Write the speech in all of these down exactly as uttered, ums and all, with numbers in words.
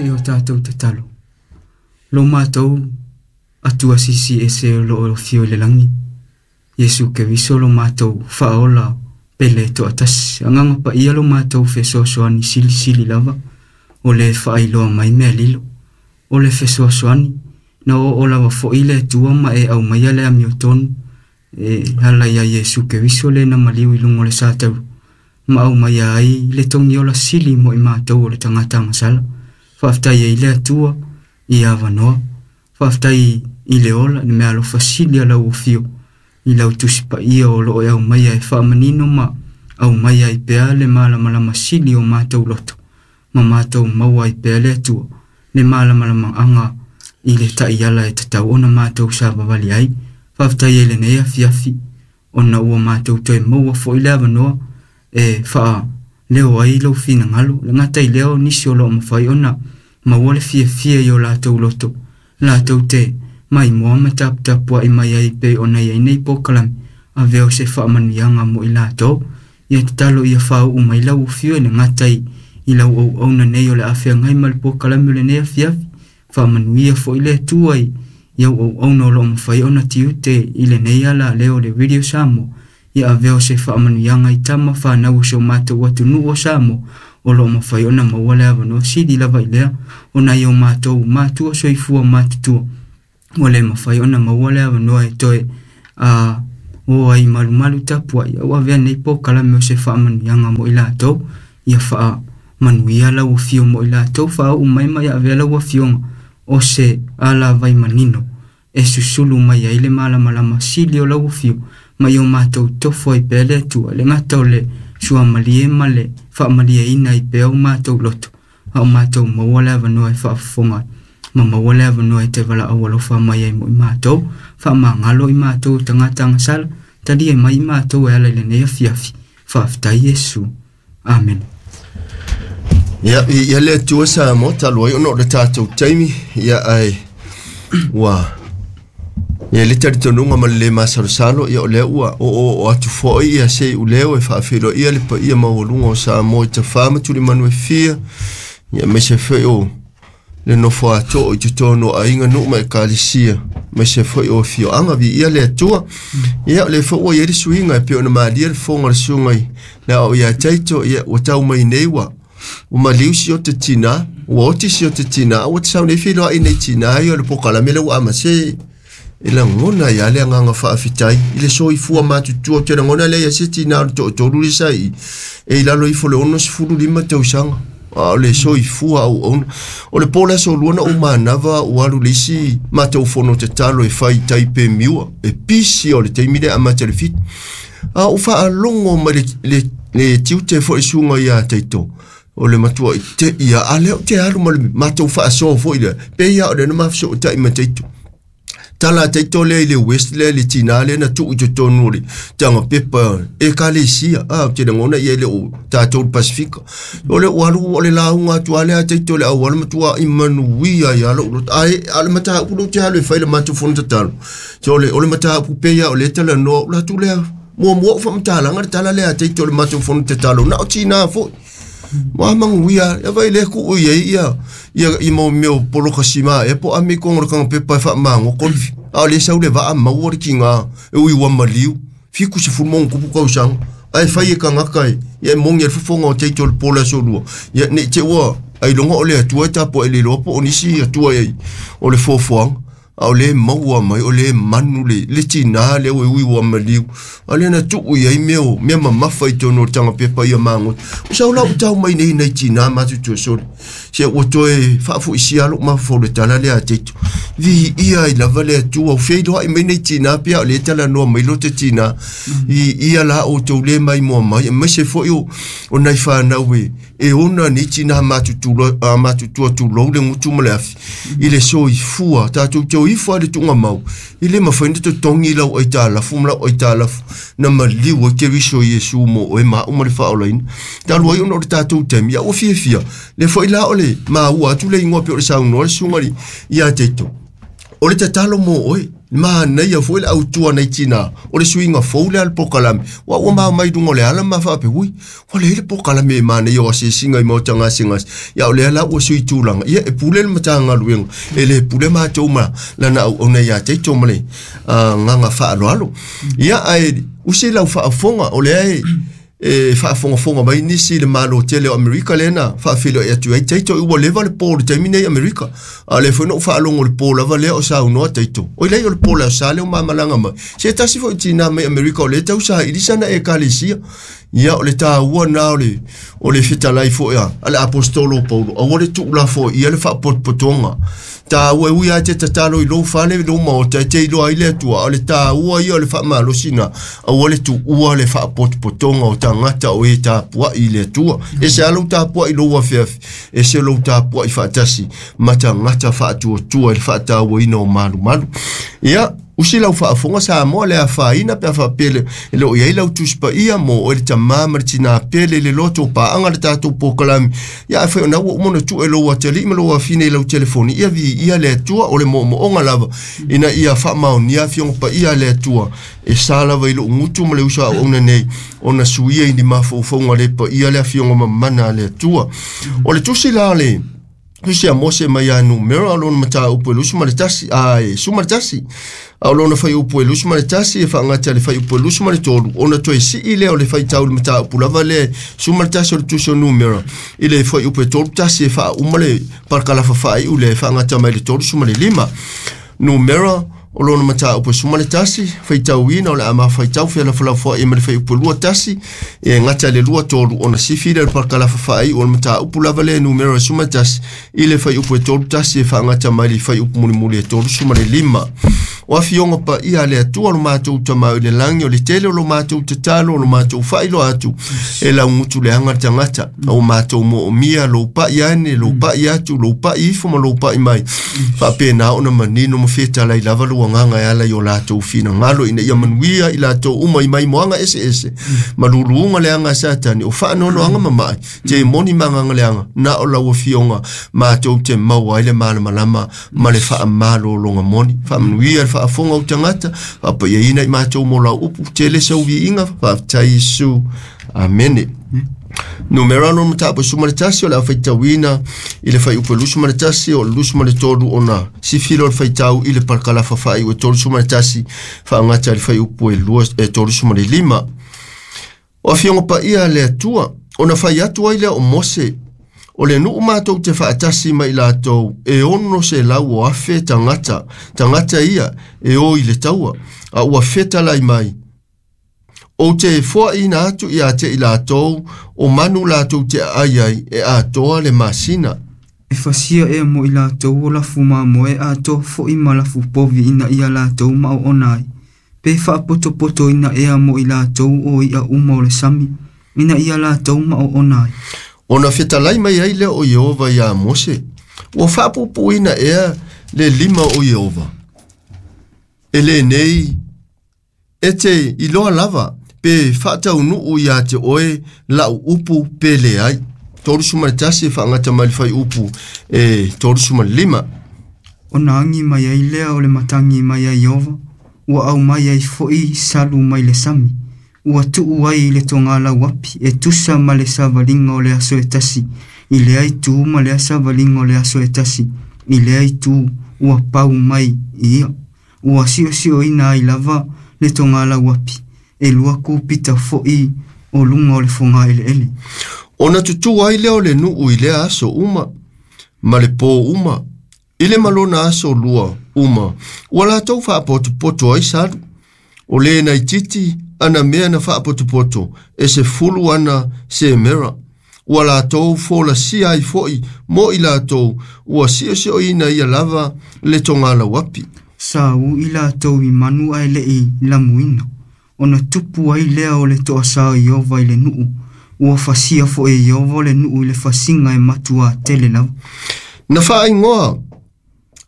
Se i o tātou tatalo. Lo mātou atua sisi e se o lo o fio le langi. Iesu Keriso lo mātou whaola pele to atasi. Anganga pa ia lo mātou fesoasoani sili sili lava. O le whaailoa mai mea lilo. O le fesoasoani na o o lava fo ile tua ma e au mai ale amio tonu. E hala ia Iesu Keriso le na maliu i lungo le sātau. Ma au mai ai le tongi ola sili mo i mātou o le tangata masala. Whaaftai e ile atua i awanoa. Whaaftai i le ola ni mea alofa sili ala o fio. I lau tusipa ia o loo e au mai ai whaamanino ma au mai ai pea le malamalama sili o mātou loto. Ma mātou maua ai pea le atua. Le malamalama anga i le taiala e tatau ona mātou sāwawali ai. Whaaftai e le nei afiafi. Ona ua mātou toe maua fo i le awanoa. E whaa leo ai lau whinangalo. Le ngatai leo nisi o loo mawhai ona maua le fia fia i o lātou loto. Lātou te mai moa ma taputapua i mai ai pe ona iai nei pōkalami. A veo se whaamanuianga mo i lātou. Ia tatalo ia whau umai lau whio e le ngatai i lau au auna nei o le awhea ngai ma le pōkalami o le nei afiafi. Whaamanuia fo i le atua i iau au auna o loo mawhai ona tiute i le nei ala leo le Radio Samoa. Ia aveo se whaamanuianga i tama whanau o se o mātou atu nu o Samoa o loo mawhai ona maua le awanoa sili lava i lea o nai o mātou mātua soifua mātutua o le mawhai ona maua le awanoa e toe a o ai malumalu tapua i au avea nei pōkalame o se whaamanuianga mo i lātou ia whaamanuia lau whio mo i lātou whaau umai mai avea lau whionga o se ala vai manino e susulu mai ai le malamalama sili o lau whio mai o mātou tofo ai pea le atua le ngata o le suamalie ma le whaamalie ina i pea o mātou loto a o mātou maua le awanoa e whaafofonga ma maua le awanoa e te wala au alofa mai ai mo i mātou whaamangalo i mātou tangata ngasala tali e mai i mātou e ala i le nei afiafi whaaftai Iesu. Amen. Ia, ia le atua sa mo talu ai ono o le tātou taimi ia ai ua ia le taritonunga ma le masalosalo ia o lea ua o o o atu fo'i ia sei uleo e faafeiloa ia le paia maualuga o Samoa i tafā ma tulimanu e fia ia maise foi o le nofo ato'o i totonu o aiga nuu ma ekalesia maise foi o afioaga viia le Atua ia o le foi ua iai le suiga e pei ona malia le fofoga o le suga i le ao iā Taito ia ua tau mai nei ua ua maliu si o te tinā ua oti si o te tinā ua te sau nei feiloa'i nei tinā ia o le pokalame le ua amase e lagona ia le agaga faafetai i le soifua matutua te lagona lea ia se tinā o le to'atolu le sa'i e i lalo ifo le ono sefulu lima tausaga a o le soifua auauna o le po le aso lua na ou manava ua alu le isi matou fono tatalo e fai tai pe miua e pisi o le taimi le amata le fitu a ou faalogo mai le, le, le tiute fo'i suga iā Taito o le matua i te ia a lea o te alu ma le matou faasoa fo'i lea pe ia o le na mafesoota'i ma Taito tala Taito lea i le West lea le tinā lea na tuu i totonu o le taga pepa e kalesia a te lagona ia le o tatou le Pasifika o le o alu o le lauga atu a lea Taito le auala matua i manuia ia lou loto ae a le mataupu lou te alu e fai le matou fono tatalo so o le o le mataupu pe ia o le talanoa o latou lea muamua o faamatalaga le tala lea a Taito le matou fono tatalo na o tinā fo'i ma manguia ia vai le ku ia ia ia i mo meo poloka sima e po ame ko ngor kanga pepa fa mango ko a le sau le va ma wo ki nga e ui wa maliu fiku se fu mo ku ku sang ai fai e kanga kai ia mo ngi fu ngo te tol pola so lu ia ne te wa ai longo o le atua ta po ele lo po onisi atua ai o le fofoanga a o le maua mai o le manu le le tinā le ui ui ua maliu a le na tuu i ai mea o mea mamafa i tonu o le taga pepa ia magoto o sau lau tau mai nei nai tinā matutua sole se ua toe faafo'isia lo'u mafaufau le tala lea a Taito viia ai lava le Atua ufeiloa'i mai nei tinā pea o le talanoa mai lo te tinā viia la outou lē maimoa mai aemaise fo'i o o nai fanau e e ona nei tinā matutua matutua tulou le gutu ma le afi i le soifua tatou te o ifo a le tuugamau i le mafai ona totogi lau aitalafu ma lau aitalafu na maliu ai Keriso Iesu mo oe maau ma le faaolaina talu ai ona o le tatou taimi ia ua fiafia le fo'i la o le maua atu le igoa pe o le saunoa le suga iā Taito o le tatalo mo oe Manaia foi le autua nei tina o le suiga fou lea le pokalame ua ua maumai luga o le ala ma faape ui ua leai le pokalame e manaia o asiasiga i maota gasegase ia o lea la ua sui tulaga ia e pule le Matagaluega e lē pule matou ma lana auauna iā teito ma le agaga faaaloalo ia ae usi lau faafofoga o lea e e faafogafoga mai nisi i le malo tele o Amerika lea na faafeiloai atu ai taito ua leva le po le taimi nei Amerika a le foi na ou faalogo le po lava lea o saunoa taito oi lei o le po le aso lea o mamalaga mai se tasi foi tinā mai Amerika o lea tausaili sana ekalesia ia o le tāua na o le o le fetalai foi a le apostolo Paulo aua le tuulafoai ia le faapotopotoga tāua e ui a te tatalo i lou fale lou maota e te iloa ai le Atua o le tāua ia o le faamalosina aua le tuua le faapotopotoga o tagata o e tapuai i le Atua e se a lou tapuai lou afeafe e se lou tapuai faatasi ma tagata faatuatua i le faatauaina o malumalu ia usi lau faafofoga Samoa le afaina pe a faapea e le o i ai lau tusi paia mo oe le tamā ma le tinā pele i le loto paaga le tatou pokalame ia afai ona ua uma ona tuu e lou atalii ma lou afine i lau telefoni ia viia le Atua o le moomooga lava ina ia faamaonia afioga paia a le Atua e sa lava i lou gutu ma le uso auauna nei ona suia i ni mafaufauga le paia le afioga mamana a le Atua o le tusi la le tusi a Mose mai ia Numera o lona mataupu e lusu ma le tasi a e suma le tasi a o lona faiupu e lusu ma le tasi e faagata le faiupu e lusu ma le tolu ona toe sii lea o le faitau le mataupu lava lea suma le tasi o le tusi o Numera i le faiupu e tolu tasi e faauma le parakalafa faaiu lea e faagata mai le tolu suma le lima Numera o lona mataupu e suma le tasi faitauina o le a mafaitau felafolafoai ma le faiupu e lua tasi e gata le lua tolu ona sifi lea le parakalafa faaiu o le mataupu lava lea Numera e suma le tasi i le faiupu e tolu tasi e faagata mai le faiupu mulimuli e tolu suma le lima o afioga paia a le Atua lo matou tamau i le lagi o le tele o lo matou tatalo o lo matou faailoa atu e laugutu leaga le tagata o matou moomia lou pai ane lou pai atu lou pai ifo ma lou pai mai faapena ona manino ma fetalai lava lou agaga e ala i o latou finagalo ina ia manuia i latou uma i maimoaga eseese ma luluuga leaga a Satani o faanoanoaga mama'i te moni ma agaga leaga na o lau afioga matou te maua ai le malamalama ma le faamalologa moni faamanuia le faafofoga o tagata faapaiaina i matou mo lau upu tele sauviiga faafetai Iesu amene Numera lona mataupu e suma le tasi o le a faitauina i le faiupu e lusu ma le tasi o le lusu ma le tolu ona sifi o le faitau i le parakalafa faaiu e tolu suma le tasi faagata i le faiupu e lua e tolu suma le lima o afioga paia a le Atua ona fai atu ai lea o Mose o le nuu matou te faatasi ma i latou e ono se lau o afe tagata tagata ia e o i le taua a ua fetalai mai ou te foaina atu ia te i latou o manu latou te aai ai e atoa le masina. E fasia ea mo i latou o lafu mamoe atoa foi ma lafu povi ina ia latou maoona ai. Pe faapotopotoina ea mo i latou o i'a uma o le sami ina ia latou maoona ai. Ona fetalai mai ai lea o Ieova iā Mose ua faapuupuuina ea le lima o Ieova e lenei e te iloa lava pe faataunuu iā te oe lau upu pe leai tolu suma le tasi e faagata mai le faiupu e tolu suma le lima Ona agi mai ai lea o le matagi mai ai Ieova ua aumai ai foi salu mai le sami ua tuu ai i le togalauapi e tusa ma le savaliga o le aso e tasi i lea itu ma lea savaliga o le aso e tasi i lea itu ua pau mai i ia ua siosioina ai lava le togalauapi e lua kupita foi o luga o le fogaeleele. Ona tutū ai lea o le nuu i lea aso uma ma le pō uma i le malona aso lua uma ua latou faapotopoto ai salu o le naititi ana mea na faapotopoto e se fulu ana semera ua latou folasia ai foi mo i latou ua siosioina ia lava le togalauapi. Sa ui latou i manu ae le'i lamuina ona tupu ai lea o le toasā o Ieova i le nuu ua fasia foi e Ieova o le nuu i le fasiga e matuā tele lava. Na faaigoa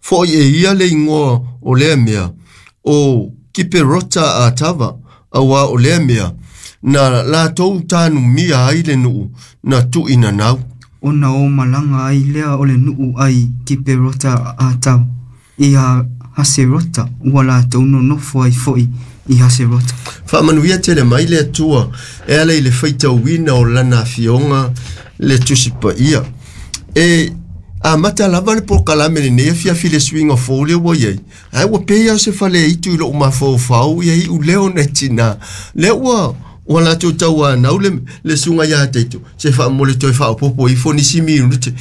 foi e ia le igoa o lea mea o Kiperota Atava auā o lea mea na latou tanumia ai le nuu na tuuinanau. Ona o malaga ai lea o le nuu ai Kiperota Atava i Haserota ua latou nonofo ai fo'i i Haserota. Faamanuia tele mai le Atua e ala i le faitauina o lana afioga le Tusi Paia. E amata lava le polokalame lenei afiafi le suiga fou lea ua iai, ae ua pei lava o se fale itu i lou mafaufau ia iu lea ona e tinā lea ua ua latou tauanau le, le suga iā taito se faamole toe faaopopo ifo nisi minute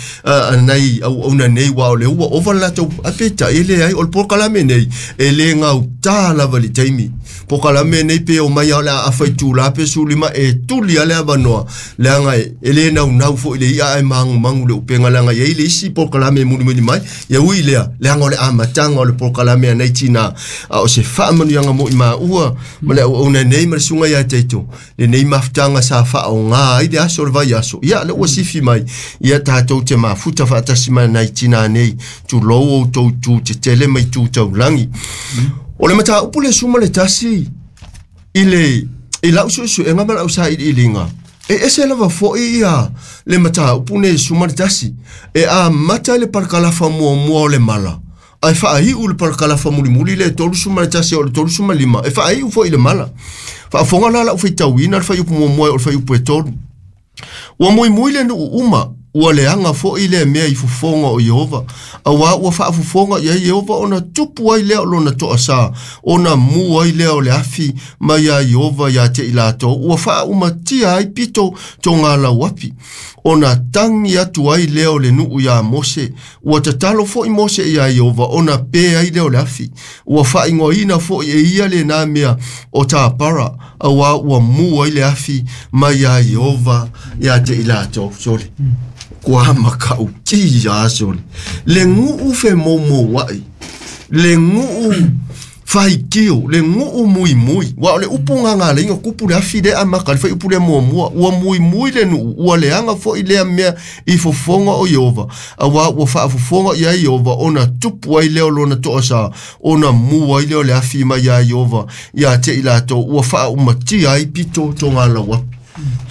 nai auauna nei ua o le ua ova le latou ae peitai e leai o le polokalame nei e lē gautā lava i le taimi polokalame nei pe omai a o le a afa itulā pe sulima e tuli a le avanoa leaga e lē naunau fo'i le i'a ae magumagu le upega leaga iai le isi polokalame e mulimuli mai ia ui lea leaga o le amataga o le polokalame anai tinā a o se faamanuiaga mo'i maua ma le auauna nei ma le suga iā taito lenei mafutaga sa faaogā ai le aso o le vaiaso ia le ua sifi mai ia tatou te mafuta faatasi ma nai tinā nei tulou outou itu tetele ma itu taulagi. O le mataupu le suma le tasi i le i lau suesuega ma lau sailiiliga e ese lava fo'i ia le mataupu nei suma le tasi e amata i le palakalafa muamua o le mala ae faaiu le palakalafa mulimuli le tolu suma le tasi o le tolu suma lima e faaiu fo'i le mala. Faafoga la lau faitauina le faiupu muamua o le faiupu e tolu. Ua muimui le nuu uma ua leaga fo'i lea mea i fofoga o Ieova auā ua faafofoga i ai Ieova ona tupu ai lea o lona toasā ona mu ai lea o le afi mai iā Ieova iā te i latou ua faaumatia ai pito togalauapi ona tagi atu ai lea o le nuu iā Mose ua tatalo fo'i Mose iā Ieova ona pē ai lea o le afi ua faaigoaina fo'i e ia lenā mea o Tapara auā ua mu ai le afi mai iā Ieova iā te i latou sole. Kua makau ti ia sole. Le nguu fe moumoua'i le nguu faitio le nguu muimui ua o le upu gagaleiga kupu le afi lea amaka le faiupu lea muamua ua muimui le nuu ua leaga fo'i lea mea i fofoga o Ieova auā ua faafofoga i ai Ieova ona tupu ai lea o lona toasā ona mu ai lea o le afi mai iā Ieova iā te i latou ua faaumatia ai pito togalauapi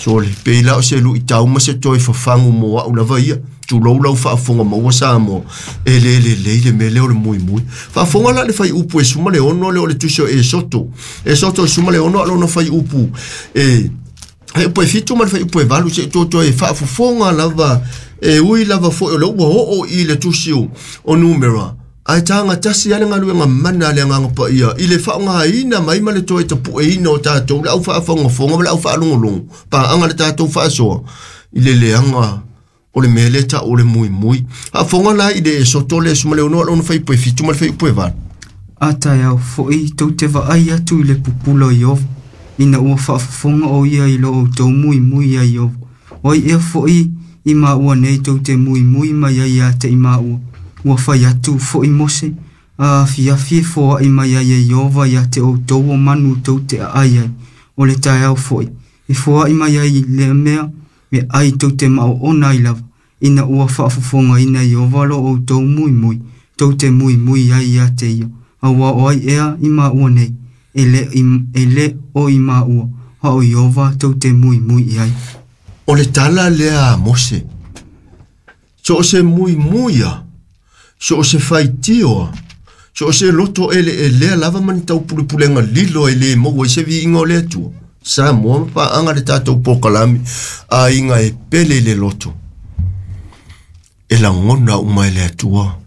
sole pei la o se luʻitau ma se toe fafagu mo a'u lava ia tulou lau faafofoga maua Samoa e lē lelei le mea lea o le muimui. Faafofoga la le faiupu e suma le ono lea o le tusi o Esoto Esoto e suma le ono a lona faiupu e faiupu e fitu ma le faiupu e valu seʻi tuatua e faafofoga lava e ui lava fo'i o le ua oo i le tusi o Numera ae taga tasi a le galuega mana a le Agaga Paia i le faaaogāina mai ma le toe tapuʻeina o tatou le au faafogafoga ma le au faalogologo paaga le tatou faasoa i le leaga o le mea lea taʻu o le muimui. Faafofoga la i le Esoto le suma le ono a lona faiupu e fitu ma le faiupu e valu. A taeao fo'i tou te vaai atu i le pupula o Ieova ina ua faafofoga o ia i lo outou muimui iā Ieova. O ai ea fo'i i maua nei tou te muimui mai ai iā te i maua. Ua fai atu fo'i Mose a afiafi e foaʻi mai ai e Ieova iā te outou o manu tou te aʻai ai. O le taeao fo'i e foaʻi mai ai lea mea e ai tou te maoona ai lava ina ua faafofogaina Ieova lo outou muimui tou te muimui ai iā te ia. Auā o ai ea i maua nei e le, e le o i maua a o Ieova tou te muimui i ai. O le tala lea a Mose so o se muimui a so o se faitio a so o se loto ele e lea lava ma ni taupulepulega lilo e lē maua i se viiga o le Atua Samoa ma paaga le tatou polokalame aiga e pele i le loto e lagona uma e le Atua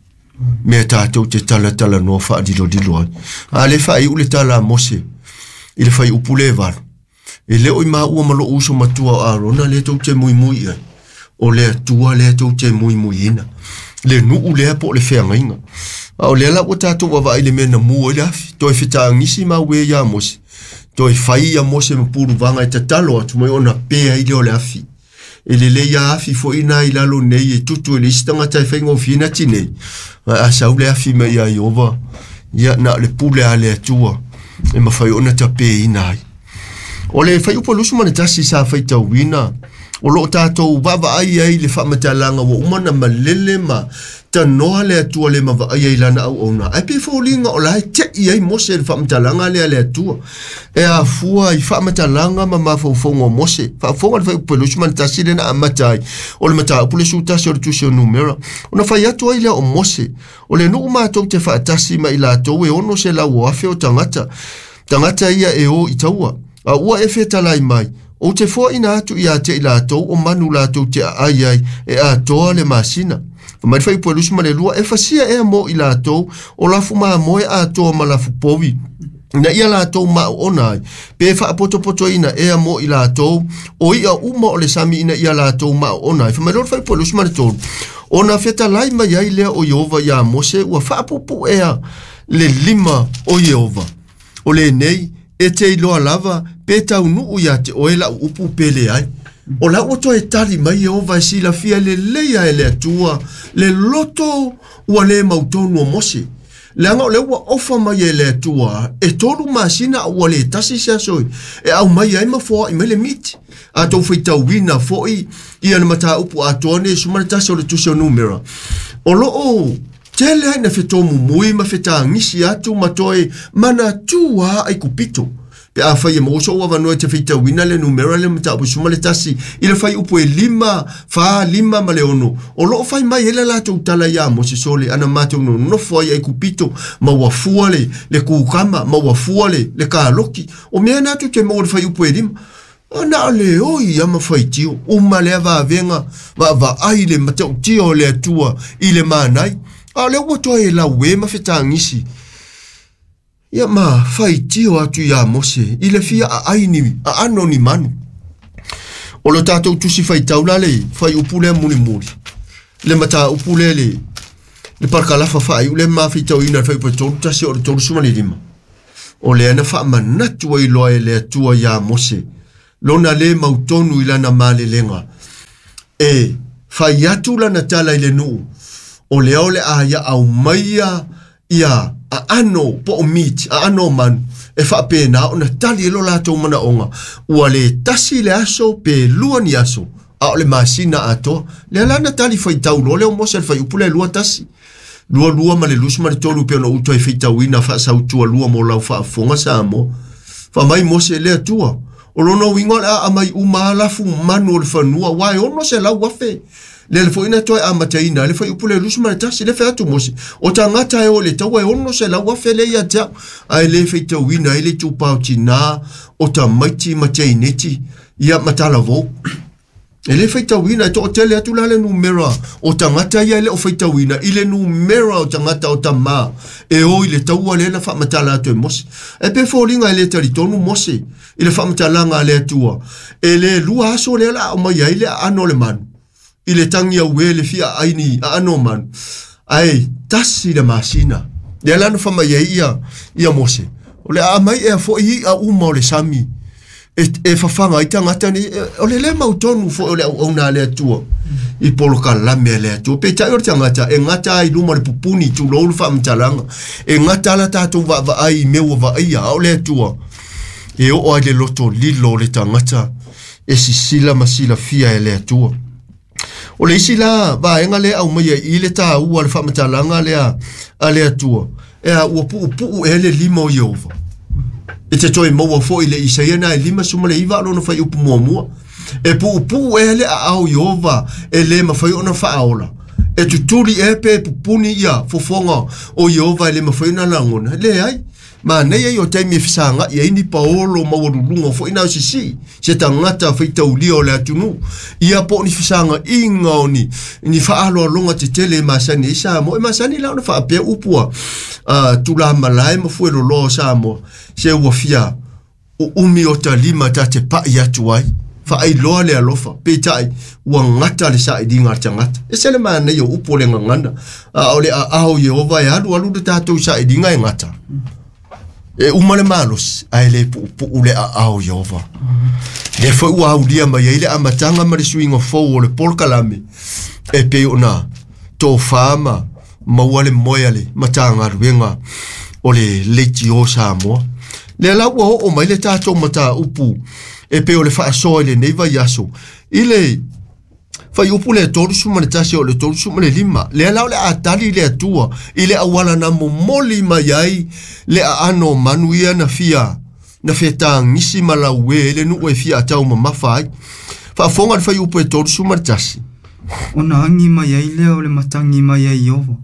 mea tatou te talatalanoa faalilolilo ai a le faaiu le tala a Mose i le faiupu le valu e lē o i maua ma loʻu uso matua o Arona lea tou te muimui i ai o le Atua lea tou te muimuiina le nuu lea po o le feagaiga a o lea la ua tatou vaavaai le mea na mu ai le afi toe fetagisi mauē iā Mose toe fai ia Mose ma puluvaga e tatalo atu mai ona pē ai lea o le afi e lelei a afi fo'i na i lalo nei e tutu e le isi tagata e faigofie na tinei ae a sau le afi mai iā Ieova ia na o le pule a le Atua e mafai ona tapēina ai. O le faiupu lusu ma le tasi sa faitauina O loo tātou vaavaai ai le faamatalaga ua uma na malele ma tanoa le Atua le mavaai ai lana auauna. Ae pe foliga o la e te'i ai Mose le faamatalaga lea le Atua. E afua i faamatalaga ma mafaufauga o Mose. Faafofoga le fuaiupu luasefulu ma le tasi le na amata ai. O le mataupu le sefulutasi o le tusi o Numera. Ona fai atu ai lea o Mose. O le nuu matou te faatasi ma i latou e ono se lau o afe o tagata. Tagata ia e o i taua. A ua e fetalai mai. O te foaina atu ia te i latou o manu latou te aai ai e atoa le masina. Mai fai po lusi ma le lua e fasia e mo i latou o lafu mamoe atoa ma lafu povi. Na ia latou ma ona ai. Pe faapotopotoina ea mo i latou o ia uma o le sami ina ia latou ma ona ai. Fa mai loa fai po lusi ma le tolu. Ona fetalai mai ai lea o Ieova ia Mose ua faapupu ea le lima o Ieova. O lenei e te iloa lava pe taunuu ia te oe lau upu pele ai. O la ua toe tali mai Ieova e silafia lelei e le Atua le loto ua le mautonu o Mose. Leaga o le ua ofa mai e le Atua e tolu masina ua le tasi se aso e au mai ai ma foai mai le miti. A tou faitauina foi ia le mataupu atoa nei suma le tasi o le tusi o Numera. O loo tele ai na fetomumui ma fetagisi atu ma toe manatua ai kupito. Pe a fai e moso ua vanua te faitauina le Numera le mataupu suma le tasi i le fuaiupu e lima, fa lima ma le ono. O loo fai mai ele latou tala ia Mose sole ana matou nonofo ai ai kupito ma ua fua le, le kukama ma ua fua le, le kaloki. O mea na atu te mo le fuaiupu e lima. Ona o le oi ama faitio, uma lea vavenga, va vaai le matautia o le Atua i le manai. A o le ua toe lau e ma fetagisi. Ia ma faitio atu ia Mose i le fia aai ni aano ni manu. O lo tātou tusi faitau la le fuaiupu lea mulimuli. Le mataupu lea le le parakalafa faaiu le mafaitauina le fuaiupu e tolu tasi o le tolu suma le lima. O lea na faamanatu ai loa e le Atua ia Mose. Lona le mautonu i lana malelega. E fai atu lana tala i le nuu. O lea o le aia au maia ia aano po o miti, aano manu. E faapena ona tali e lo latou manaoga. Ua le tasi le aso pe lua ni aso. A o le masina atoa. Lea lana tali faitau loa lea o Mose le fuaiupu le lua tasi. Lua lua ma le lusi ma le tolu pe ona uto e faitauina faasautua lua mo lau faafofoga Samoa. Faamai Mose le Atua. O lona uiga o le aa mai uma alafu manu o le fanua ua e ono se lau afe. Le le foina toe amataina le fuaiupu le lusi ma le tasi le fai atu Mose. O tagata e o le taua e ono se lau afe le ia te au. Ae le faitauina ai le itupa o tinā o tamaiti ma teineti ia ma talavou. E le faitauina e toatele atu la le numera o tagata ia e le o faitauina i le numera o tagata o tamā e o i le taua lea na faamatala atu e Mose. E pe foliga e le talitonu Mose i le faamatalaga a le Atua. E le lua aso lea la o mai ai le aano o le manu. I le tangi au e le fia aini aano o manu. Ae tasi le masina. Lea la na faamai ai ia, ia Mose. O le aa mai ea foi i a uma o le sami. E, e fafaga ai tagata nei, o le le mautonu foi o le auauna a le Atua. I polokalame a le Atua. Peitai o le tagata, e gata ai luma le pupuni tulou le faamatalaga. E gata la tatou vaavaai i mea ua vaaia, a o le Atua. E oo ai le loto lilo o le tagata, e sisila ma silafia e le Atua. O le isi la vaega lea aumaia i le tāua le faamatalaga lea a le Atua. E a ua puupuu e le lima o Ieova. E te toe maua foi le Isaia na e lima suma le iva lona fuaiupu muamua. E puupuu e le aao Ieova e le mafai ona faaola. E tutuli e pe pupuni ia fofoga o Ieova e le mafai ona lagona. Leai. Manaia ia o taimi e fesagai ai ni paolo maualuluga foi na o sisii. Se tagata faitaulia o le atunuu. Ia po o ni fesagaiga o ni, ni faaloaloga tetele e masani ai Samoa. E masani la ona faapea upu a uh, tulamalae ma fueloloa o Samoa. Se ua fia uumi o talima ta te pai atu ai. Faailoa le alofa. Peitai ua gata le sailiga a le tagata. E se le manaia o upu o le gagana. A o le aao Ieova e alu alu le tatou sailiga e gata. E uma le malosi, ae le puupuu le aao Ieova. Le foi ua aulia mai ai le amataga ma le suiga fou o le polokalame. E pei ona tofā ma maua le moe a le matagaluega o le leitio Samoa. Lea la ua oo mai le tatou mataupu e pei o le faasoa i lenei vaiaso I le faiupu le tolu ma le tasi o le tolu ma le lima. Lea la o le atali le Atua i le auala na momoli mai ai le aano o manu ia na fia na fetagisi ma lauē le nuu e fia atau mamafa ai. Faafoga le faiupu e tolu ma le tasi. Ona agi mai ai lea o le matagi mai ai Iowa.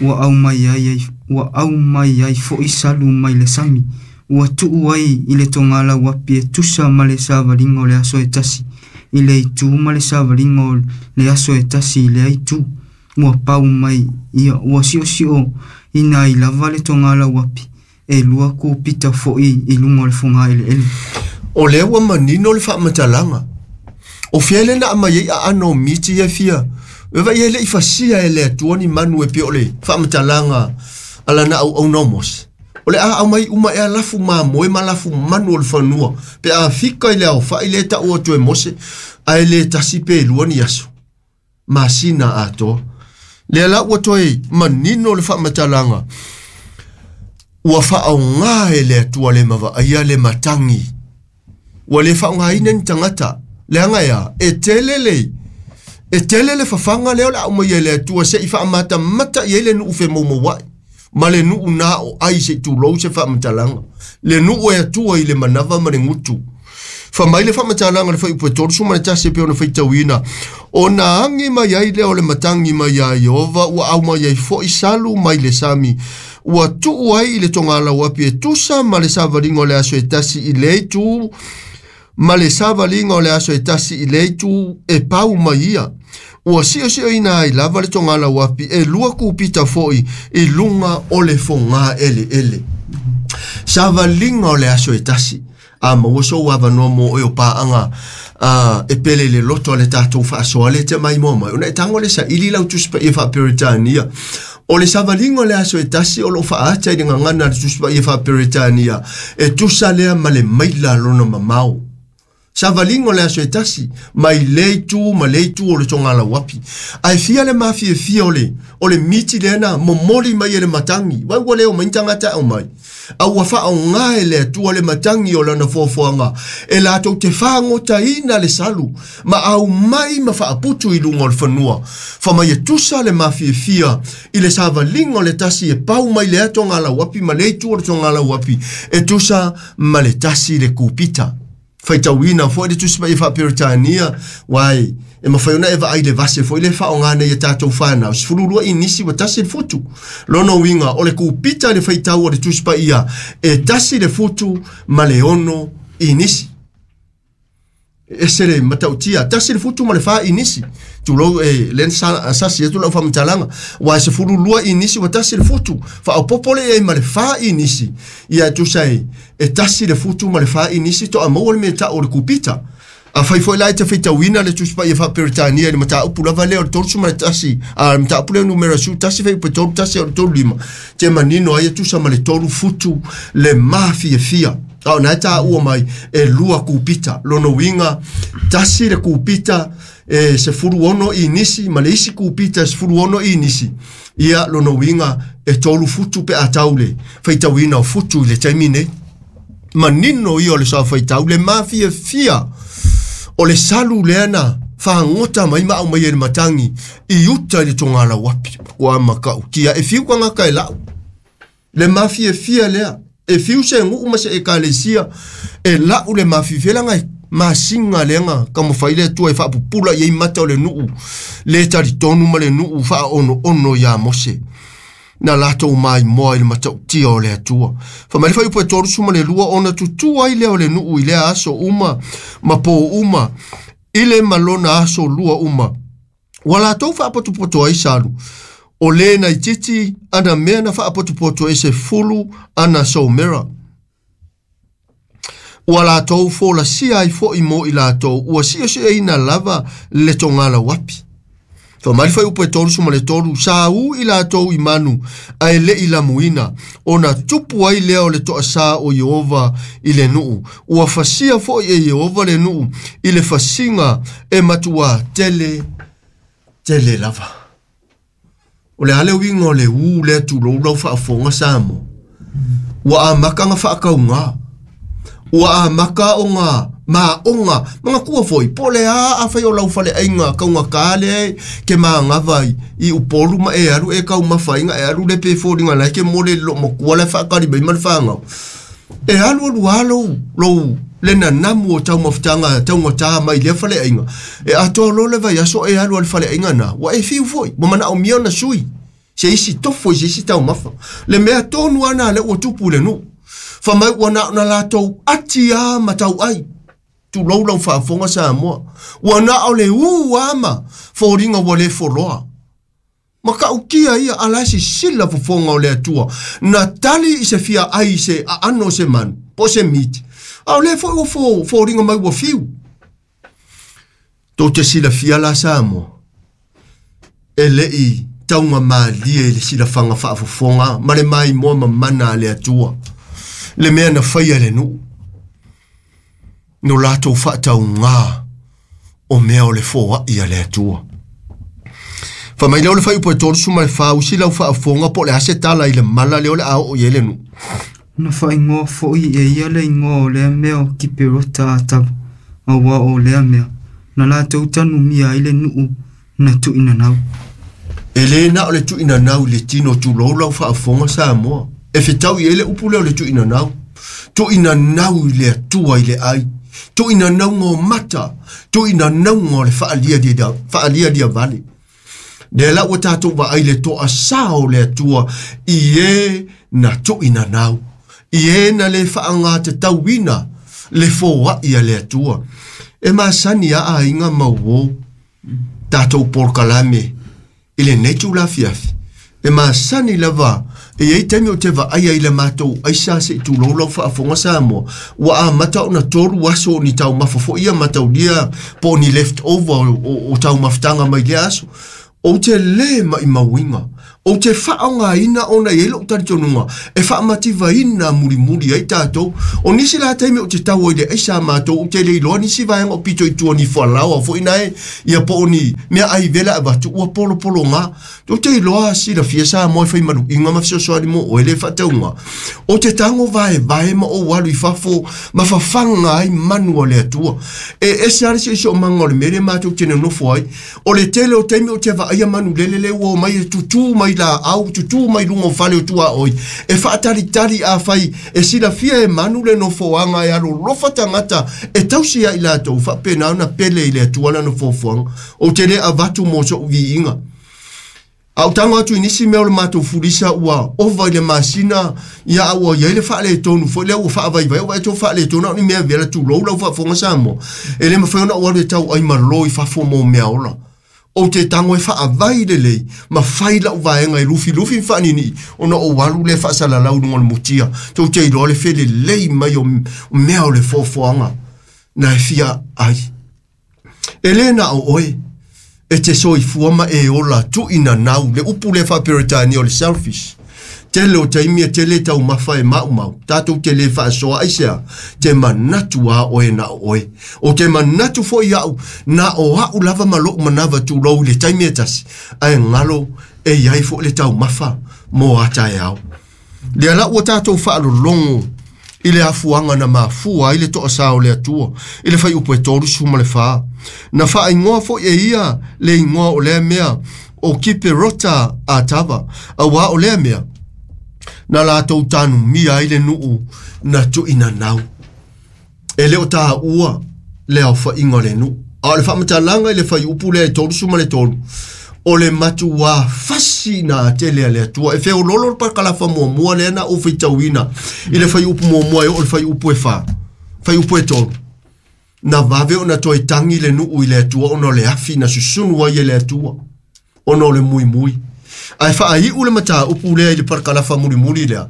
Ua au mai ai ai ua au mai ai fo'i salu mai le sami. Ua tuu ai i le togalau api e tusa ma le savaliga o le aso e tasi. I le itu ma le savaliga o le aso e tasi i lea itu. Ua pau mai ia ua siosio ina ai lava le togalau api. E lua kupita fo'i i luga o le foga eleele. O lea ua manino le faamatalaga. O fea le na aumai ai aano o miti ia fia. E vai e le'i fasia e le Atua ni manu e pei o le faamatalaga a lana auauna o Mose. O le a aumai uma ea lafu mamoe ma lafu manu o le fanua. Pe a fika i le aofa'i le ta'u atu e Mose, ae lē tasi pe lua ni aso. Masina atoa. Lea la ua toe manino le faamatalaga. Ua faaogā e le Atua le mavaaia le matagi. Ua le faaogāina ni tagata. Leaga ea, e tele le e tele le fafaga lea o le aumai e le Atua se'i faamatamata i ai le nuu femoumoua'i. Ma le nuu na o ai se'i tulou se faamatalaga. Le nuu e Atua i le manava ma le gutu. Fa mai le faamatalaga le faiupu e tolu ma le tasi e pei ona faitauina. Ona agi mai ai lea o le matagi mai iā Ieova ua aumai ai fo'i salu mai le sami. Ua tuu ai i le togalau api e tusa ma le savaliga o le aso e tasi i le itu ma le savaliga o le aso e tasi i le itu e pau mai ia. Ua siosioina ai lava le togalau api e lua kupita fo'i i luga o le fogā eleele. Savaliga o le aso e tasi. A maua sou avanoa mo oe o paaga a, e pele i le loto a le tatou faasoa le te mai moa mai. Ona e tago le saili lau Tusi Paia faa-Peretania. O le savaliga o le aso e tasi o loo faaata i le gagana a le Tusi Paia faa-Peretania. E tusa lea ma le maila lona mamao. Savaliga o le aso e tasi, mai le itu ma le itu o le togalau api. Ae fia le mafiafia o le, o le miti lea na momoli mai e le matagi. Vai ua le o mai tagata au mai. A ua faaogā e le Atua le matagi o lana foafoaga. E latou te fagotaina le salu. Ma aumai ma faaputu i luga o le fanua. Fa mai e tusa le mafiafia i le savaliga o le tasi e pau mai lea togalau api ma le itu o le togalau api. E tusa ma le tasi le kupita. Faitauina fo'i le Tusi Paia faa-Peretania, uai e mafai ona e vaai le vase fo'i le faaogā nei e tatou fanau, sefululua inisi ua tasi le futu. Lona uiga o le kupita i le faitau o le Tusi Paia e tasi le futu ma le ono inisi. Ese le matautia, tasi le futu ma le fa inisi. Tulou e len sa sasi atu lau faamatalaga. Ua sefululua inisi ua tasi le futu. Faaopopo le ai ma le fa inisi. Ia tusa e, e tasi le futu ma le fa inisi to a maua le mea ta'u o le kupita. Afai foi la e te faitauina le Tusi Paia faa-Peretania i le mataupu lava lea o le tolu ma le tasi, a le mataupu lea numera su tasi faiupu e tolu tasi o le tolu lima. Te manino ai e tusa ma le tolu futu le mafiafia. A o na e tāua mai e lua kupita. Lona uiga, tasi le kupita e sefulu ono inisi ma le isi kupita e sefulu ono inisi. Ia lona uiga e tolu futu pe a tau le faitauina o futu i le taimi nei. Manino ia o le sa faitau le mafiafia o le salu lea na fagota mai ma aumai e le matagi i uta i le togalau api. Ua makautia e fiu tagata e la'u. Le mafiafia lea. E fiu se guu ma se ekalesia e la'u le mafiafia laga e masiga lea taumafai le Atua e faapupula i ai mata o le nuu le talitonu ma le nuu faaonoono iā Mose. Na latou maimoa i le matautia o le Atua. Fa mai le faiupu e tolu ma le lua ona tutū ai lea o le nuu i lea aso uma ma pō uma i le malona aso lua uma. Ua latou faapotopoto ai salu. O le naititi ana mea na faapotopoto e sefulu ana somera. Ua latou folasia ai fo'i mo i latou ua siosiaina lava le togalau api. Fa mai le faiupu e tolu ma le tolu sa u i latou i manu ae le'i lamuina ona tupu ai lea o le toasā o Ieova i le nuu. Ua fasia fo'i e Ieova le nuu i le fasiga e matuā tele tele lava. O le a le uiga o le ū lea tulou lau faafofoga Samo. Ua amaka ga faakaugā. Ua amaka o ga Ma onga manga kua foi po le a a fai o lau fale ainga kaunga kale ke manga vai i upolu ma e alu e kau mafainga e alu le pe fo linga la ke mole lo mo kua le fa kali mai mal fanga e alu alu alu lo le na namu o tau mafutanga tau ngata mai le fale ainga e ato lo le vai aso e alu al fale ainga na wa e fiu foi mo mana o miona sui se isi tofo se isi tau mafa le mea tonu ana le o tupu le nu fa mai wana na latou atia matau ai tu lau lau faafofoga Samoa ua na o le u ama foliga ua lē foloa ma ka'ukia ia ala sisila fofoga o le Atua na tali i se fia ai se aano se manu po se miti a o lē fo'i ua fo foliga mai ua fiu tou te silafia la Samoa e le'i tauga malie i le silafaga faafofoga ma le maimoa mamana a le Atua le mea na faia le nuu no latou faataugā o mea o le foa'i a le Atua. Fa mai leo le fai upo e tolu suma le fā usi lau faafofoga po o le a se tala i le mala lea o le a oo i ai le nuu. Na faaigoa fo'i e ia le igoa o lea mea o Kiperota Atava, auā o lea mea, na latou tanumia ai le nuu na tu'inanau. E lē na o le tu'inanau i le tino tulou lau faafofoga Samoa. E fetau i ai le upu lea o le tu'inanau. Tu'inanau i le Atua i le ai. Tu'inanauga o mata. Tu'inanauga o le fa'alia fa'alialia vale. Lea la ua tatou vaai le to'asā o le Atua i e na tu'inanau. I e na le fa'agatatauina le foa'i a le Atua. E masani a aiga mauō tatou polokalame i lenei tulafiafi. E masani lava e iai taimi o te vaaia i le matou aisa se'i tulou lau faafofoga Samoa ua amata ona tolu aso o ni taumafa fo'i ia mataulia po o ni left over o, o, o taumafutaga mai lea aso. Ou te lē maʻimauiga ou te faaaogāina ona i ai lo'u talitonuga e faamativaina mulimuli ai tatou. O nisi la taimi ou te tau ai le aisa a matou ou te le iloa nisi vaega o pito i tua ni fualaoa fo'i nae ia po o ni mea ai vela avatu ua polopologā. Ou te iloa silafia Samoa e fai malu'iga ma fesoasoani mo oe le faatauga. Ou te tago vaevae ma ou alu i fafo ma fafaga ai manu a le Atua. E ese a le siosiomaga o le mea lea matou te nonofo ai. O le tele o taimi ou te vaaia manu lele le ua o mai e tutū mai la au tutū mai luga o fale o tuaʻoi e faatalitali afai e silafia e manu le nofoaga e alolofa tagata e tausi ai latou faapena ona pele i le Atua lana foafoaga. Ou te lē avatu mo so'u viiga. A utaga atu i nisi mea o le matou fulisa ua ova i le masina ia a ua iai le faaletonu foi lea ua faavaivai o vaeto faaletonu a o ni mea vela tulou lau faafofoga Samoa. E lē mafai ona ou alu e tau ai malo i fafo mo mea ola. Ou te tago e faavai lelei ma fai la'u vaega e lufilufi ma fa'anini'i ona ou alu le fa'asalalau luga o le mutia. Tou te iloa le felelei mai o mea o le foafoaga na e fia ai. E lē na o oe e te soifua ma e ola tu'inanau le upu le fa'aperetania o le selfish. Tele o taimi e tele taumafa e ma'umau tatou te lē fa'asoa aisea te manatu a oe na o oe. O te manatu fo'i a'u na o a'u lava ma lo'u manava tulou i le taimi e tasi ae galo e iai fo'i le taumafa mo a taeao. Lea la ua tatou fa'alologo i le afuaga na mafua ai le to'asā o le Atua i le faiupu e tolu suma le fā. Na fa'aigoa fo'i e ia le igoa o lea mea o Kiperota Atava auā o lea mea na latou tanumia ai le nuu na tu'inanau. E lē o tāua le aofa'iga o le nuu. A o le faamatalaga i le faiupu lea e tolu suma le tolu o le matuā fasi na atele a le Atua. E feololo le pakalafa muamua lea na ou faitauina i le faiupu muamua e oo le faiupu e fā faiupu e tolu. Na vave ona toe tagi le nuu i le Atua ona o le afi na susunu ai e le Atua ona o le muimui. Ae faai'u le matāupu lea i le parakalafa mulimuli lea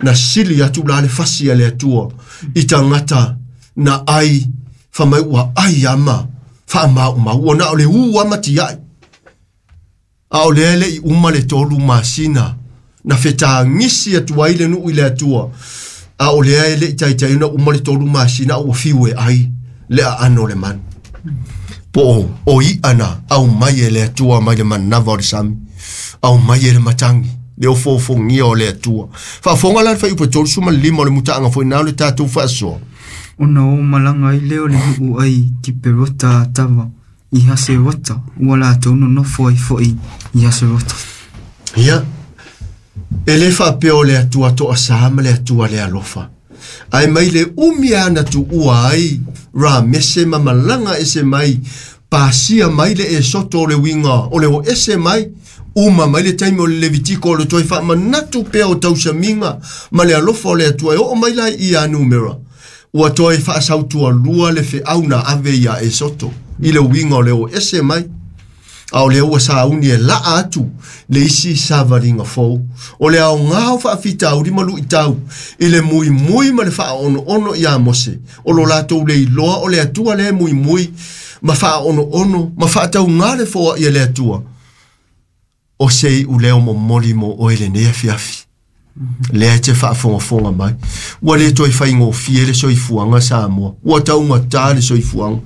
na sili atu la le fasi a le Atua i tagata na ai famai ua ai ama faamaumau ua na o le ū ama tia'i. A o lea le'i uma le tolu masina na fetagisi atu ai le nuu i le Atua. A o lea e le'i taitai ona uma le tolu masina a ua fiu e ai le aano o le manu. Po o, o i'a na au mai e le Atua mai le manava o le sami. Au mai e le matagi le ofofogia o le Atua. Faafofoga la le faiupu e tolu suma le lima o le mutaaga fo'i na o le tatou faasoa. Ona o malanga ai lea o le nuu ai Kiperota Atava i Haserota, ua latou nonofo ai foi i Haserota. Ia, e le faapea o le Atua toasā ma le Atua le alofa. Ae mai le umi ana tuua ai Ramese ma malaga ese mai, pasia mai le Esoto o le uiga o le o ese mai, uma mai le taimi o le Levitiko o le toe faamanatu pea o tausamiga ma le alofa o le Atua e oo mai la i ia numera. Ua toe faasautualua le feau na ave ia Esoto i le uiga o le o ese mai. A o le ua sauni e laa atu le isi savaliga fou. O le aogā o faafitauli ma luitau i le muimui ma le faaonoono ia Mose. O lo latou le iloa o le Atua le muimui ma faaonoono ma faataugā le foai e le Atua. O se iu leo momoli mo oe lenei afiafi. Lea e te faafogafoga mai. Ua le toe faigofie le soifuaga Samoa. Ua taugatā le soifuaga.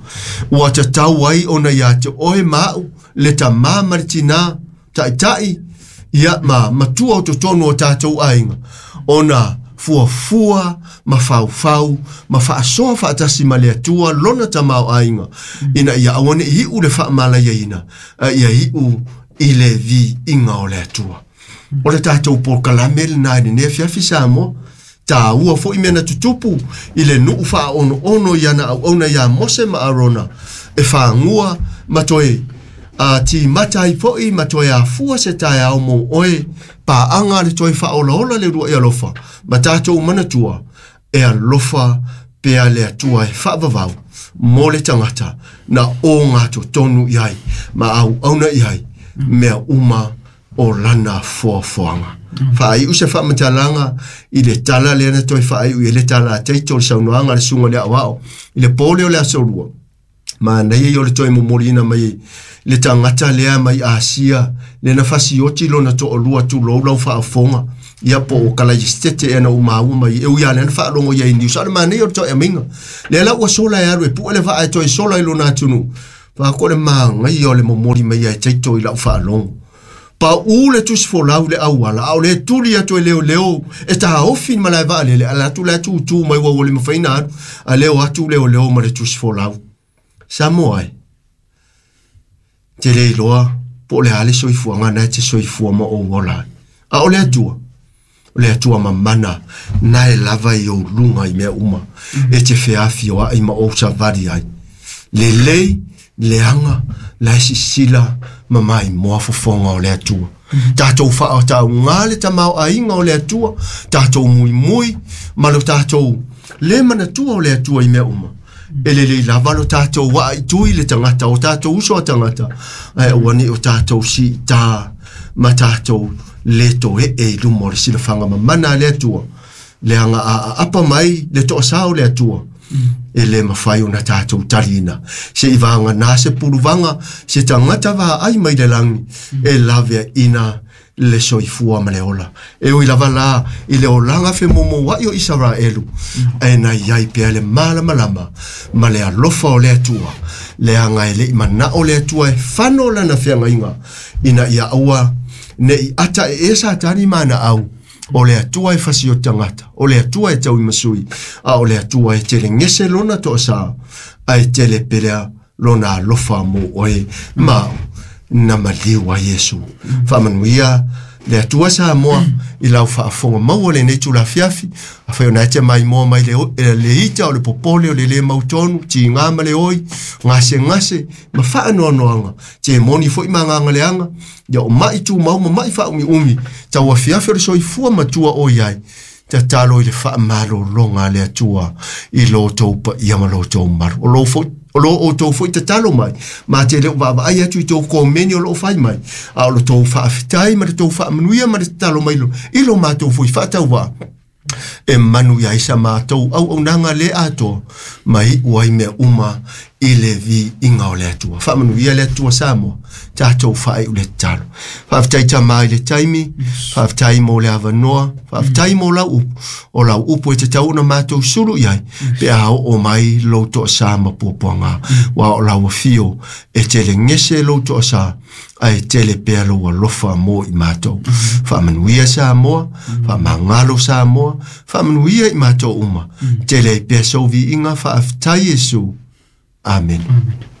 Ua tatau ai ona ia te oe ma au, le tamā ma le tinā, taitai, ia ma matua o totonu o tātou aiga. Ona fuafua, ma faufau, ma faasoa faatasi ma le Atua lona tamao aiga. Ina ia aua ne i iu le faamalaiaina, a ia iu i le viiga o le Atua. O le tātou polokalame lenā i lenei afiafi Samoa. Tāua foi mea na tutupu i le nuu faaonoono i ana auauna ia Mose ma Arona e fagua ma toe a timata ai foi ma toe afua se taeao mo oe paaga le toe faaolaola le uluai alofa ma tātou manatua e alofa pea le Atua e faavavau mo le tagata na o gatotonu i ai ma auauna i ai mea uma o lana foafoaga. Faaiu se faamatalaga i le tala lea na toe faaiu i le tala a Teito o le saunoaga a le susuga i le aoao i le po lea o le aso lua. Manaia ia o le toe momoliina mai le tagata lea mai Asia le na fasioti lona toalua tulou lau faafofoga ia po o Kalaistete ea na umaua mai e ui a lea na faalogo ia i Niusa. O le manaia o le toe aumainga lea la ua sola e alu e pue le vaa e toe sola i lona atunuu. Faako le magaia o le momoli mai ia e Teito i lau faalogo. Pa u le tusi folau le auala, a o le tuli atu e leo leo, e taofi ma lae vaalele, ala atu le atu tu mai ua ua le mafaina alu, a leo atu leo leo ma le tusi folau. Samoa ai, te le iloa, po o le a le soifuaga na e te soifua ma ou ola ai. A o le Atua, o le Atua mamana, na e lava i ou luga i mea uma, e te feafioai ma ou savali ai. Lelei, leaga, la e sisila ma maimoa fofoga o le Atua. Tātou faataugā le tamaoaiga o le Atua, tātou muimui ma lo tātou le manatua o le Atua i mea uma. E lelei lava lo tātou waa i tui le tagata o tātou uso a tagata, ae aua nei o tātou siitā ma tātou le toe'e i luma o le silafaga mamana a le Atua. Leaga a aapa mai le toasā o le Atua, e le mafai ona tātou taliina. Se i vaga se puluvaga, se tagata vaai mai le lagi, e laveaina le soifua ma le ola. E ui lava la i le olaga femomoua'i o Isaraelu, ae na iai pea le malamalama ma le alofa o le Atua. Leaga e le'i mana'o le Atua e fano lana feagaiga, ina ia aua ne'i ata e e Satani ma ana au. O le Atua e fasi o tagata, o le Atua e tauimasui, a o le Atua e telegese lona toasā, ae tele pelea lona alofa mo oe ma na maliu a Iesu. Faamanuia le Atua Samoa i lau faafofoga maua lenei tulafiafi, afai ona e te maimoa mai le, le ita o le popole o le le mautonu, tigā ma le oi, gasegase ma faanoanoaga, te moni foi ma agaga leaga, ia o mai tumau ma mai faaumiumi, tauafiafi o le soifua matua o i ai, tatalo i le faamalologa a le Atua i lo tou paia ma lo tou malu. O lo foi o lo o tou foi tatalo mai, ma te leo vaavaai atu i tou komeni o loo fai mai, a o lo tou faafitai ma le tou faamanuia ma le tatalo mai lo, i lo matou foi faatauvaa, e manu ia ai sa matou auaunaga le atoa, ma iu ai mea uma I le viiga o le Atua. Faamanuia le Atua Samoa, tatou faaiu le tatalo. Faafetai Tama i le taimi, faafetai mo le avanoa, faafetai mo lau upu, o lau upu e tatau ona matou sulu i ai, pe a oo mai lou toasa ma puapuaga, ua o lau afio e tele gese lou toasa, ae tele pea lou alofa mo i matou. Faamanuia Samoa, faamagalo Samoa, faamanuia i matou uma. Tele ai pea sou viiga, faafetai Iesu. Amen. Amen.